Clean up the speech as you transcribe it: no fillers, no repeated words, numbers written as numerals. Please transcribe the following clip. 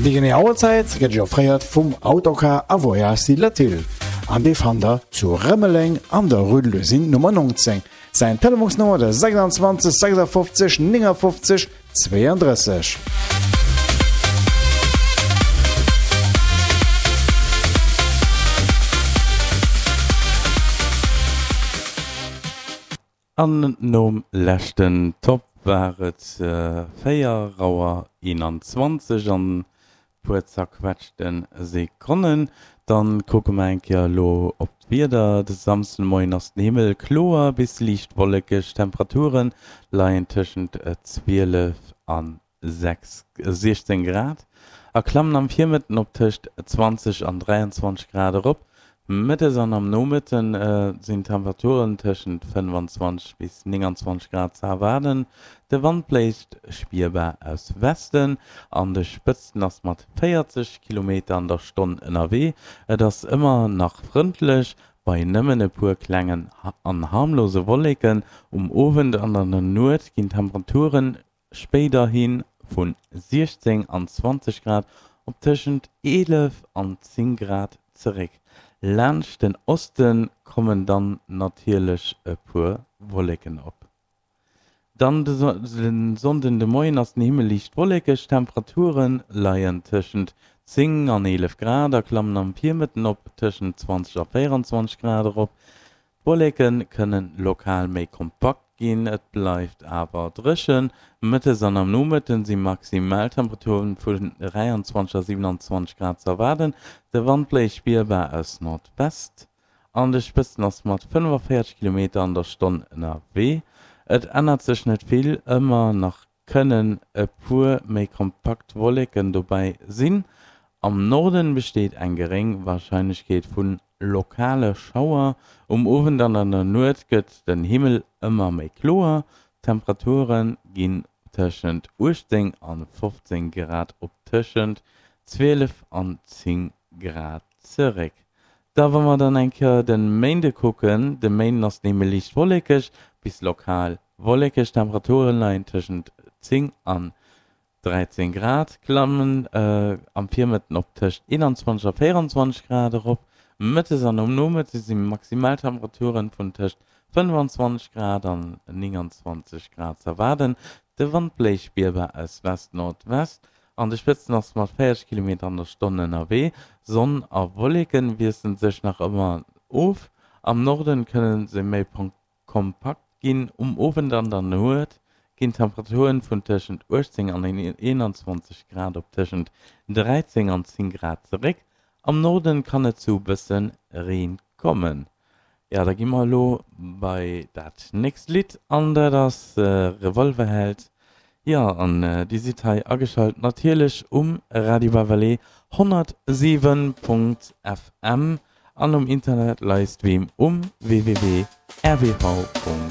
Déi genee Auerzäit gëtt Iech offréiert vum Autocar a Voyages Latil an dee fannt der zu Rëmeleng an der Rue de l'Usine Nummer 19. Säin Telefonsnummer de 26 56 59 32. An nom leschten Top war et 4 Auer 21 an puer zerquetschte Sekonnen. Dann kucke mer eng Kéier elo op d'Wieder. De Samsdemoien ass den Himmel kloer bis liicht wollekeg, d'Temperature leien tëschent 12 an 16 Grad a klammen am Virmëtten op tëscht 20 an 23 Grad erop. Mëttes an am Nomëtte sinn Temperaturen tëschent 25 bis 29 Grad ze erwaarden. De Wand bléist spierbar aus Westen, an de Spëtzten ass mat 40 Kilometer an der Stonn ënnerwee. Et ass ëmmer nach frëndlech, bei nëmmen e puer klengen an harmlose Wolleken. Um Owend an an der Nuet ginn d'Temperaturen spéiderhi vu 16 an 20 Grad op tëschent 11 an 10 Grad zeréck. Laanscht den Oste kommen dann natierlech e puer Wolleken op. Dann de Sonnden de Moien ass den Himmel liicht wollekeg, d'Temperature leien tëschent 10 an 11 Grad a klammen am Virmëtten op tëschent 20 a 24 Grad erop. D'Wolleke kënnen lokal méi kompakt ginn, et bleift awer dréchen. Mëttes an am Nomëtten si Maximaltemperaturen vun 23 a 27 Grad ze erwaarden. De Wand bléist spierbar aus Nordwest, an de Spëtzen ass mat 45 Kilometer an der Stonn ënnerwee. Et ännert sech net vill, ëmmer nach kënnen e puer méi kompakt Wolleken dobäi sinn. Am Norden besteet eng geréng Warscheinlechkeet vu lokale Schauer. Um Owend an an der Nuet gëtt den Himmel ëmmer méi kloer, d'Temperature ginn tëschent 18 an 15 Grad op tëschent 12 an 10 Grad zeréck. Da wa mer dann eng Kéier de Méinde kucken, de Méinden ass den Himmel liicht wollekeg bis lokal Wollekeg, Temperaturen leien tëschent 10 an 13 Grad, klammen am Virmëtten op tëscht 21 a 24 Grad erop. Mëttes an um Nomëtte si Maximaltemperaturen vun tëscht 25 Grad an 29 Grad z'erwaarden. De Wand bléist spierbar aus West-Nordwest, an de Spëtzen ass mat 40 Kilometer an der Stonn ënnerwee. Sonn a Wolleke wiessele sech nach ëmmer of, am Norden kënne se méi Kompakt ginn. Um Owend an der Nuet ginn d'Temperaturen vun tëschent 18 an 21 Grad op tëschent 13 an 10 Grad zeréck. Am Norden kann et zu bësse Reen kommen. Jo, da gi mer elo bei dat nächst Lidd an dat ass Revolverheld. Jo, an Dir sidd hei ageschalt natierlech um Radio Bavalé 107.FM. An um Internet livestream um www.rbv.lu.